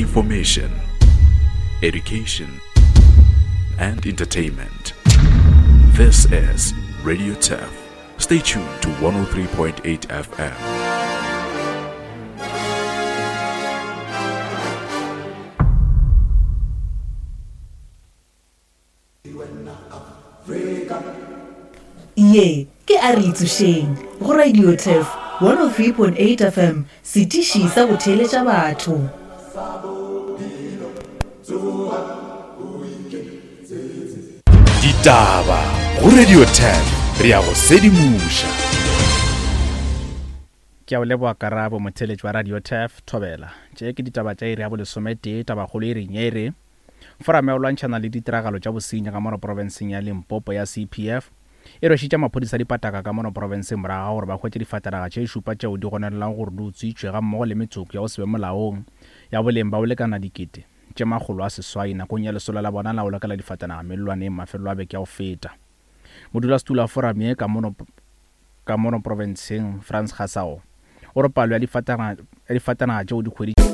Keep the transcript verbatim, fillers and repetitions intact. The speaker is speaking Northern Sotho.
Information, education, and entertainment. This is Radio Turf. Stay tuned to one oh three point eight F M. Ye ke a re itsošeng go Radio Turf one oh three point eight F M, setiši sa go theeletša batho. Ditaba go Radio Turf, re ya go sedimoša. Ke a o leboga Karabo, motheeletši wa Radio Turf, Thobela. Tše ke ditaba tša iri ya bolesometee, tabakgolo e reng ye e re Foramo ya go lwantšhana le ditiragalo tša bosenyi ka mono profenseng ya Limpopo ya C P F e rwešitše maphodisa dipataka ka mono profenseng morago ga gore ba hwetše difatanaga tše šupa tšeo di gononelago gore di utswitšwe gammogo le metsoko ya go se be molaong ya boleng ba go lekana dikete tše makgolo a seswai nakong ya lesolo la bona la go lokela difatanaga mellwaneng mafelelo a beke ya go feta. Modulasetulo wa forum ye ka mono, ka mono profenseng Frans Gasao o re palo ya difatanaga, ya difatanaga tšeo di hweditšwego